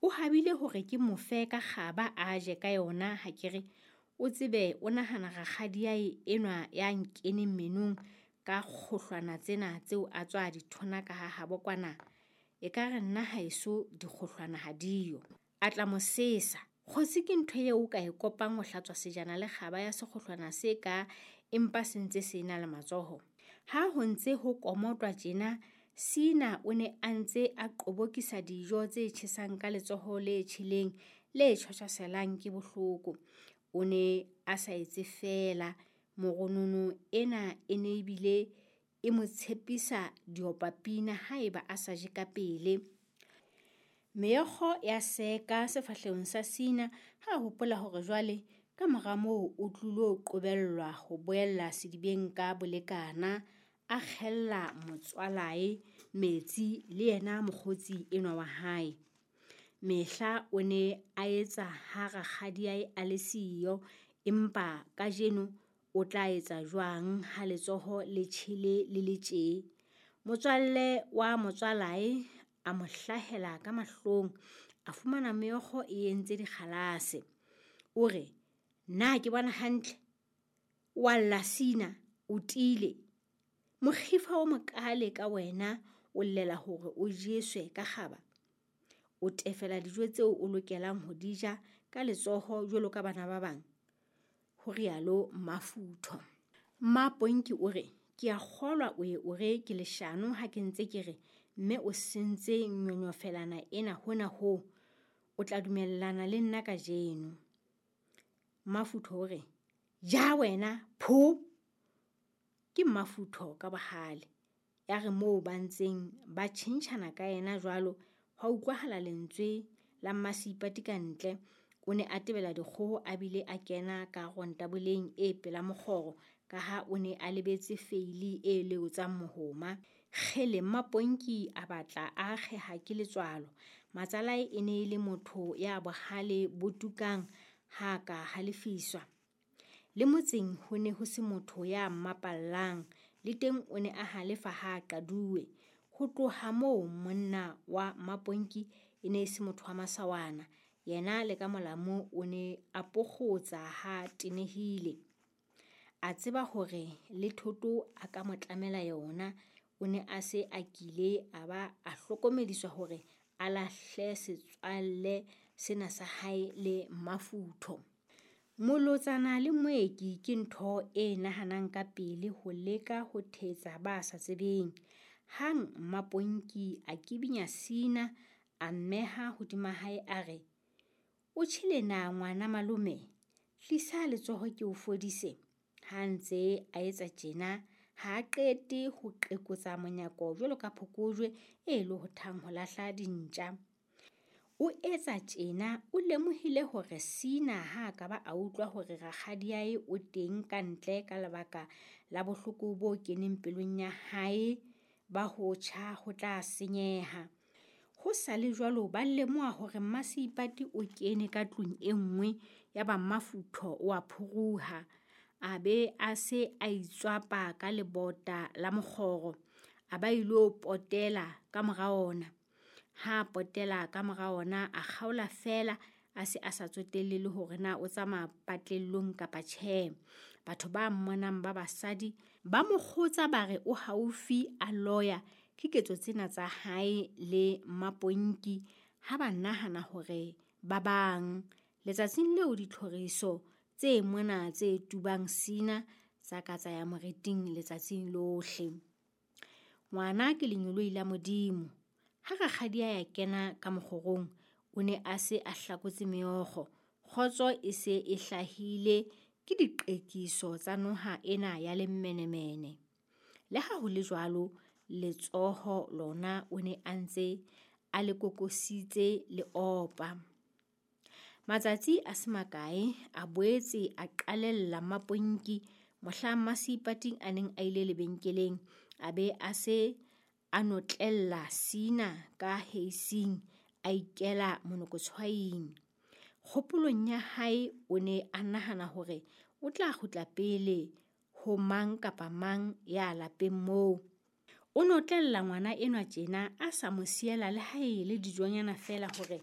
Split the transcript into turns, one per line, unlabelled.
O habile hore ke mo fe ka kgaba a je ka yona ha ke re o tsebe o nahana rakgadiae enwa ya nkeneng menong ka kgohlwana tsena tseo a tswa di thonaka ha habo kwana. Ekare nna haeso dikgohlwana ha diyo. A tla mo sesa. Kgotsi ke ntho eo o ka e kopang ho hlatswa sejana le kgaba ya sekgohlwana se ka empa se ntse se na le matsoho. Ha ho ntse ho komotwa tjena, Sina o ne a ntse a qobokisa dijo tse tjhesang ka letsoho le tjheleng le tjhwashwaselang ke bohloko. O ne a sa etse feela, moronono ena e ne ebile e mo tshepisa diopapina haeba a sa je ka pele. Meokgo ya seka sefahlehong sa Sina ha a hopola hore jwale ka mora moo o tlilo qobellwa ho boella sedibeng ka bolekana, a kgella motswalae metsi le yena mokgotsi enwa wa hae. Mehla o ne a etsa ha rakgadiae a le siyo, empa kajeno o tla etsa jwang ha letsoho le tjhele le le tjee? Motswalle wa motswalae a mo hlahela ka mahlong, a fumana meokgo e entse dikgalase. O re, na ke bona hantle? Wa lla Sina, o tiile. Mokgifa o mokaale ka wena o llela hore o jeswe ka kgaba. O tefela dijo tseo o lokelang ho di ja ka letsoho jwalo ka bana ba bang. Ho rialo Mmafutho. Mmaponki o re, ke a kgolwa o ye o re ke leshano ha ke ntse ke re mme o sentse nyonyofelana ena hona hoo. O tla dumellana le nna kajeno. Mmafutho o re, ja wena, pho! Ke Mmafutho ka bohale. Ya re moo ba ntseng ba tjhentjhana ka yena jwalo, hwa utlwahala lentswe la Mmaseipati ka ntle. O ne a tebela dikgoho a bile a kena ka rontaboleng e pela mokgoro ka ha o ne a lebetse feili e leotsang mohoma. Kgele Mmaponki a batla a akgeha ke letswalo. Matsalae e ne e le motho ya bohale bo tukang ha ka halefiswa. Le motseng ho ne ho se motho ya mmapallang, le teng o ne a halefa ha a qaduwe. Ho tloha moo monna wa Mmaponki e ne e se motho wa masawana. Yena le ka molamu o ne a pokgotsa ha tenehile. A tseba hore le thoto a ka mo tlamela yona. O ne a se a kile a ba a hlokomediswa hore a lahle setswalle sena sa hae le Mmafutho. Molotsana le moeki ke ntho e nahanang ka pele ho leka ho thetsa ba sa tsebeng. Hang Mmaponki a kibinya Sina a mmeha hodima hae a re, o tjhele na ngwana malome? Tlisa letsoho ke o fodise. Ha ntse a etsa tjena, ha a qete ho qekotsa monyako jwalo ka phokojwe e lohothang ho lahla dintja. O etsa tjena o lemohile hore Sina ha a ka ba a utlwa hore rakgadiae o teng ka ntle ka lebaka la bohloko bo keneng pelong ya hae ba ho tjha ho tla senyeha. Ho sa le jwalo ba lemoha hore Mmaseipati o kene ka tlung e nngwe ya ba Mmafutho o a phuruha. A be a se a itswapa ka lebota la mokgoro, a ba ilo potela ka mora ona. Ha potela ka mora ona a kgaola feela a se a sa tsotelle le hore na o tsamaya patlellong kapa tjhe. Batho ba mmonang ba basadi ba mo kgotsa ba re o haufi a loya ke ketso tsena tsa hae le Mmaponki ha ba nahana hore ba bang. Letsatsing leo ditlhoriso tse mona tse tubang Sina tsa ka tsa ya moriting letsatsing lohle. Ngwana ke lenyoloi la Modimo. Ha rakgadi a ya kena ka mokgorong, o ne a se a hlakotse meokgo. Kgotso e se e hlahile ke diqekiso tsa noha ena ya lemmenemene. Le ha ho le jwalo, letsoho lona o ne a ntse a le kokositse le opa. Matsatsi a se makae a boetse a qalella Mmaponki mohla Mmaseipating a neng a ile lebenkeleng, a be a se a notlella Sina ka heising a ikela monokotshwaing. Kgopolong ya hae o ne a nahana hore o tla kgutla pele ho mang kapa mang ya lapeng moo. O notlella ngwana enwa tjena a sa mo siela le ha e le dijonyana feela hore